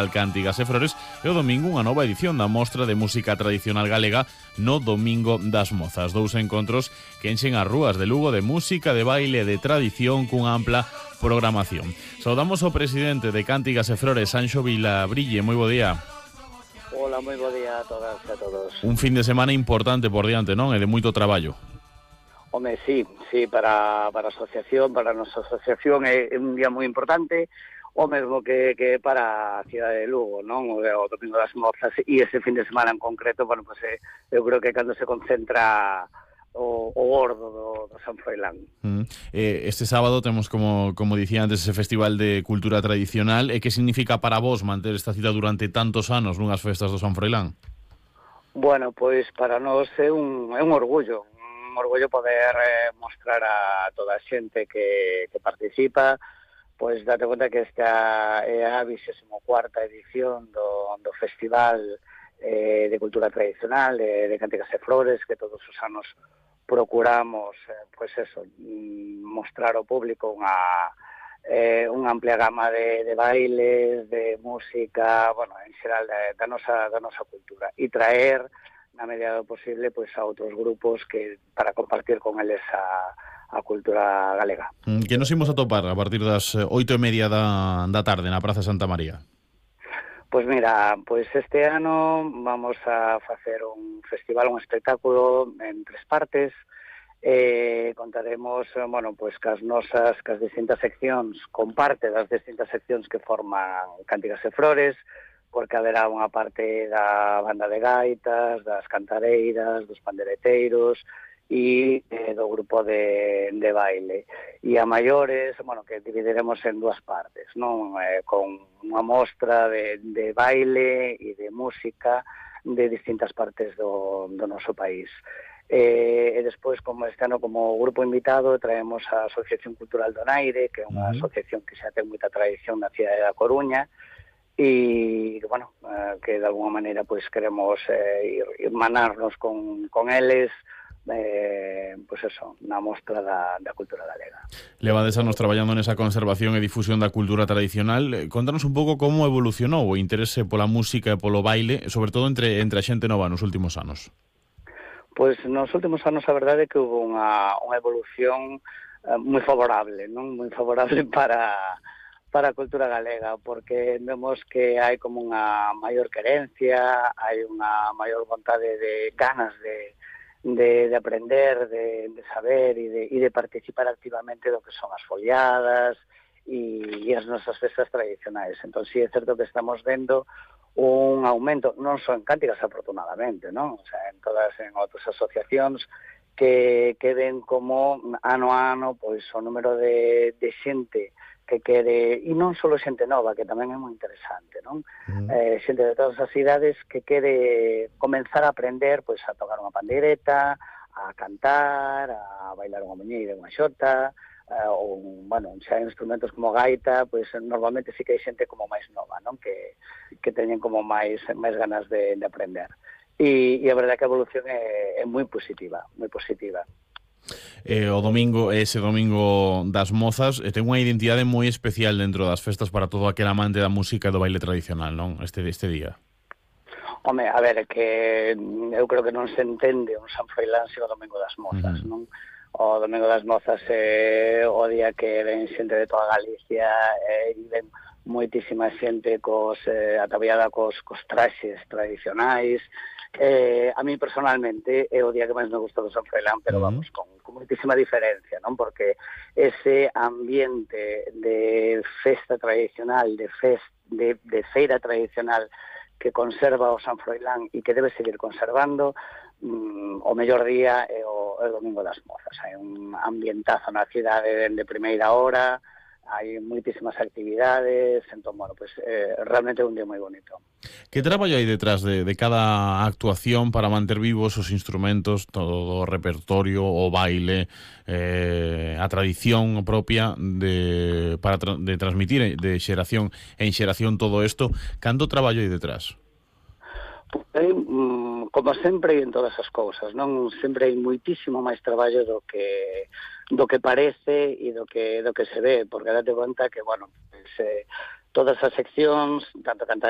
Cántigas e Flores e o domingo unha nova edición da Mostra de Música Tradicional Galega no Domingo das Mozas. Dous encontros que enchen as rúas de Lugo de música, de baile e de tradición cunha ampla programación. Saudamos ao presidente de Cántigas e Flores, Sanxo Vilabrille. Moi bo día. Hola, moi bo día a todas e a todos. Un fin de semana importante por diante, non? E de moito traballo. Home, sí, para a asociación, para a nosa asociación é un día moi importante, o mesmo que para a cidade de Lugo, non? O Domingo das Mozas, e ese fin de semana en concreto, bueno, pues, eu creo que cando se concentra o gordo do San Froilán. Este sábado temos, como dicía antes, ese Festival de Cultura Tradicional. E que significa para vos manter esta cita durante tantos anos nunhas festas do San Froilán? Bueno, pois para nós é un orgullo poder mostrar a toda a xente que participa. Pois date conta que esta é a 24ª edición do Festival de Cultura Tradicional de Cántigas e Flores, que todos os anos procuramos mostrar ao público unha amplia gama de bailes, de música, bueno, en xeral da nosa cultura, e traer na medida do posible pois a outros grupos que para compartir con eles a cultura galega. Que nos imos a topar a partir das 8:30 da tarde na Praza Santa María? Pois mira, este ano vamos a facer un festival, un espectáculo en 3 partes. Contaremos, cas distintas seccións, con parte das distintas seccións que forman Cántigas e Flores, porque haberá unha parte da banda de gaitas, das cantareiras, dos pandereteiros e do grupo de baile. E a maiores, que dividiremos en 2 partes, non? Con unha mostra de baile e de música de distintas partes do noso país. E despois, como este ano, como grupo invitado, traemos a Asociación Cultural Donaire, que é unha asociación que xa ten moita tradición na cidade da Coruña, e, que de alguma maneira queremos ir manarnos con eles, na mostra da cultura galega. Levades anos traballando nesa conservación e difusión da cultura tradicional. Contanos un pouco como evolucionou o interese pola música e polo baile, sobre todo entre a xente nova nos últimos anos. Pois nos últimos anos a verdade é que houve unha evolución moi favorable, non? Moi favorable para a cultura galega, porque vemos que hai como unha maior querencia, hai unha maior vontade de ganas de aprender, de saber e de participar activamente do que son as foliadas e as nosas festas tradicionais. Entón, sí, é certo que estamos vendo un aumento, non só en Cántigas, afortunadamente, non? O sea, en outras asociacións que ven como ano a ano pois o número de xente que quere, e non só xente nova, que tamén é moi interesante, non? Xente de todas as idades que quere comenzar a aprender pois a tocar unha pandeireta, a cantar, a bailar unha muñeira, unha xota, ou, xa instrumentos como gaita, pois normalmente sí que hai xente como máis nova, non? Que teñen como máis ganas de aprender. E a verdade é que a evolución é moi positiva, moi positiva. Ese domingo das Mozas ten unha identidade moi especial dentro das festas para todo aquel amante da música e do baile tradicional, non? Este día. Home, a ver, que eu creo que non se entende un San Froilán sen o Domingo das Mozas, non? O Domingo das Mozas é o día que ven xente de toda Galicia e ven moitísima xente ataviada cos traxes tradicionais. A mí personalmente é o día que máis me gusta do San Froilán, pero con moitísima diferencia, non? Porque ese ambiente de festa tradicional, de feira tradicional que conserva o San Froilán e que debe seguir conservando, o mellor día é o Domingo das Mozas. Hai un ambientazo na cidade dende primeira hora, hai moitísimas actividades, entón, realmente é un día moi bonito. Que traballo hai detrás de cada actuación para manter vivos os instrumentos, todo o repertorio, o baile, a tradición propia de transmitir de xeración en xeración todo isto? Canto traballo hai detrás? Como sempre en todas as cousas, non? Sempre hai moitísimo máis traballo do que parece e do que se ve, porque date conta que, todas as seccións, tanto cantar